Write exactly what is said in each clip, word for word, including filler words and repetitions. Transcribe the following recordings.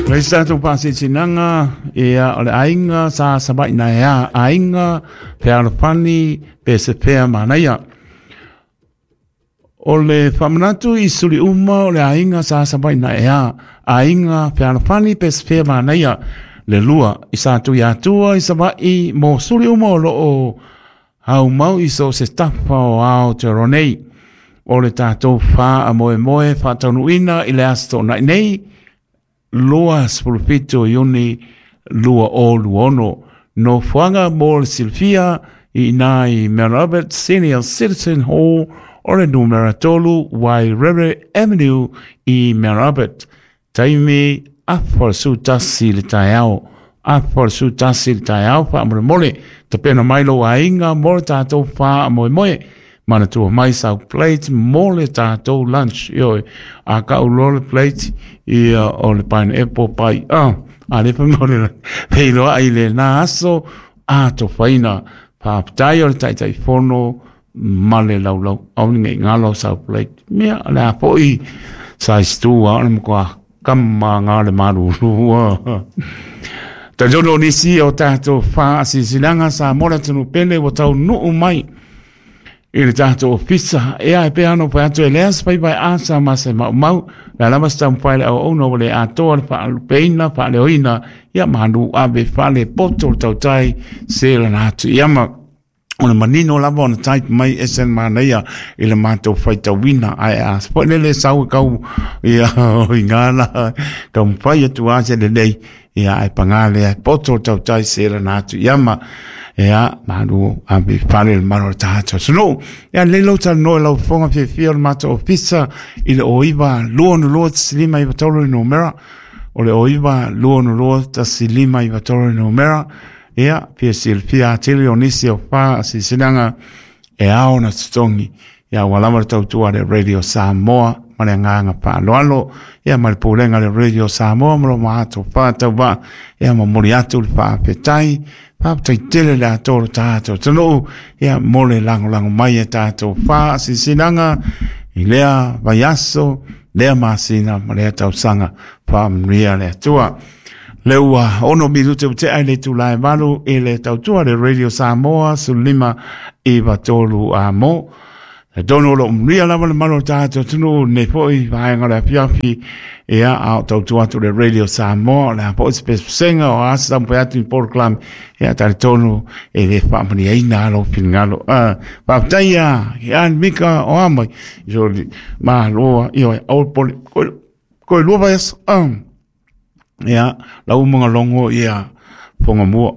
Le isi tatou faasinasinaga ia o le aiga sa savaʻi naeā aiga fealofani pe se fea manaia. O le faamanatu i suli uma o le aiga sa savaʻi naeā aiga fealofani pe se fea manaia le lua i sa tui atua i savaʻi mo suli uma o loo aumau i so se tafa o Aotearoa nei. O le tatou faamoemoe faataunuuina i le aso toonai nei lua sefulu fitu o Iuni lua o lua ono. Nofoaga mo le silafia i ina i Mount Albert Senior Citizen Hall o le numera tolu Wairere Avenue i Mount Albert. Taimi afa o le su tasi le taeao. Afa o le su tasi le taeao faamolemole. Tapena mai lou aiga mo le tatou faamoemoe. Manatua mai sau plate mo le tatou lunch. Ioe, a kau loa le plate ia o le pineapple pai. Ah, a le pa mo le peiloa i le na aso a tofaina. Faafetai o le Taitaifono ma le laulau. Aua ne i galo sau plate. Mea le a foi size two a o le matua kama ngā le malulu. Talitonu o nisi o tatou faasilasilaga sa mo le atunuu pele ua taunuu mai i le tatou ofisa. Ea e pei ona fai atu e lea se faiva e asa ma se maumau. Le a lava se taumafai le auauna ua le atoa le faalupeina, faaleoina, ia manu ave fale poto le tautai se lana atu iama. O le manino lava ona type mai e ese le manaia i le matou faitauina. Ae a foi lele sau e kau ia o i ngā taumafai atu a se lelei. Ia ae pagā lea e poto le tautai se lana atu iama. Ea manu ave fale le malo o le tatou atunuu. Ia lelei lou talanoa i lau fofoga fiafia o le matou ofisa i le o iva lua ono lua tasi lima iva tolu le numera. O le o iva lua ono lua tasi lima iva tolu le numera. Ia, fia silafia atili o nisi o faasilasilaga e ao ona totogi. Ia, ua lava le tautua a le Radio Samoa ma le agaga faaaloalo. Ia, ma le pulega a le Radio Samoa ma lo matou faatauvaa. Ia, momoli atu le faafetai. Faafetai tele le atoa o le tatou atunuu. Ia, mo le lagolago mai e tatou faasilasilaga i lea vaiaso, lea masina ma lea tausaga. Faamanuia le Atua. Le ua ono minute ua tea i le itula e valu i le tautua le Radio Samoa sefulu lima iva tolu a mo. Talitonu o lo o manuia lava le malo o le tatou atunuu nei foi vaega o le afiafi. Ia, a o tautua atu le Radio Samoa, o le a foi se pesepesega o a se taumafai atu i polokalame. Ia, talitonu e le faamaniaina lou finagalo. Ah, faafetai ia ke an mika o a mai. So, maloa, ioe, aua pole, koe, koe lua vaiaso. Ah. Ia, lau umaga logo ia fonga mua.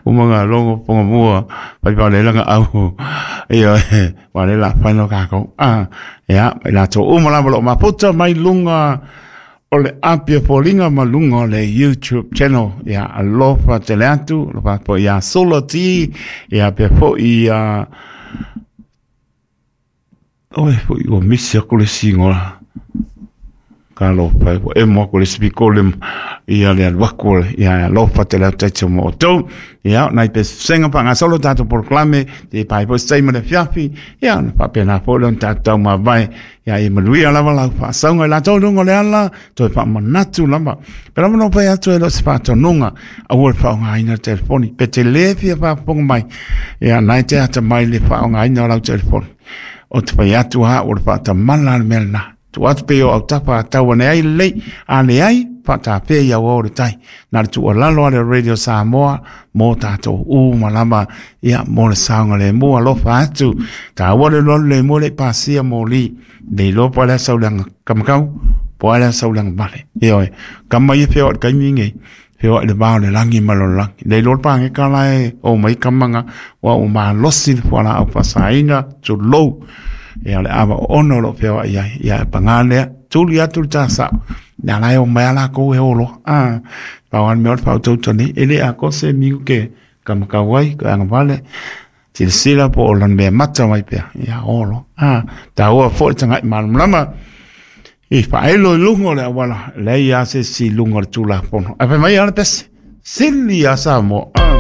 Umaga logo fonga mua. Pai pa le langa au. Ia, wa le la whaino kākou. Ah, ia, mai latou uma lava lo maputa mai lunga o le Apia Foliga ma luga o le YouTube channel. Ia, alofa tele atu, alofa po ia Solo T, ia pea foi ia oe foi ua misi aku le singola. Ka alofa e ua emo aku le sipikole ia le alu aku ia alofa tele atu taitio mo outou. Ia, nai pesepesega faagasolo tatou polokalame, te pai foi se taimi o le afiafi, ia ona faapena foi lea ona tatou taumavae. Ia ia manuia lava lau faasauga i latou i luga o le ala, toe faamanatu lava. Pe lava na fai atu e le o se faatonuga, aua le faaaogaina le telefoni. Pe te le fia faafofoga mai, ia na e te atamai le faaaogaina o lau telefoni. O te fai atu ha o le faatamala le mea lena. Tuu atu pea i o autafa a tau ane ai lelei, a leai, faatapea i auao o le tai. Na le tuualalo a le Radio Samoa mo tatou uma lava, ia, mo le saogalemu alofa atu. Taua le alualu lemu e le i pasia moli. Le iloa po o le a sau leaga kamakau, po o le a sau leaga vale. Ioe, kama ia feoai i le taimi lenei, feoai i le va o le lagi ma le lalolagi. Le iloa le pageka la e o mai kamaga, ua ua malosi le fualaau faasaina, tulou. Ia o le ava oono o lo o feoai ai. Ia e pagā lea, tuli atu le tasao. Ia la e o mai a lakou e o loa. Ah, pau lava le mea o le faautautau nei. E le atoa se miu ke kamakau ai, ka agavale. Silasila po o lana mea mata mai pea. Ia o loa. Ah, taua foi le taga'i malamalama. I faaelo i luga o le auala, leai lava se isi i luga o le Tulafono. Ae fai mai lava le pese, sili ia Samoa. Ah.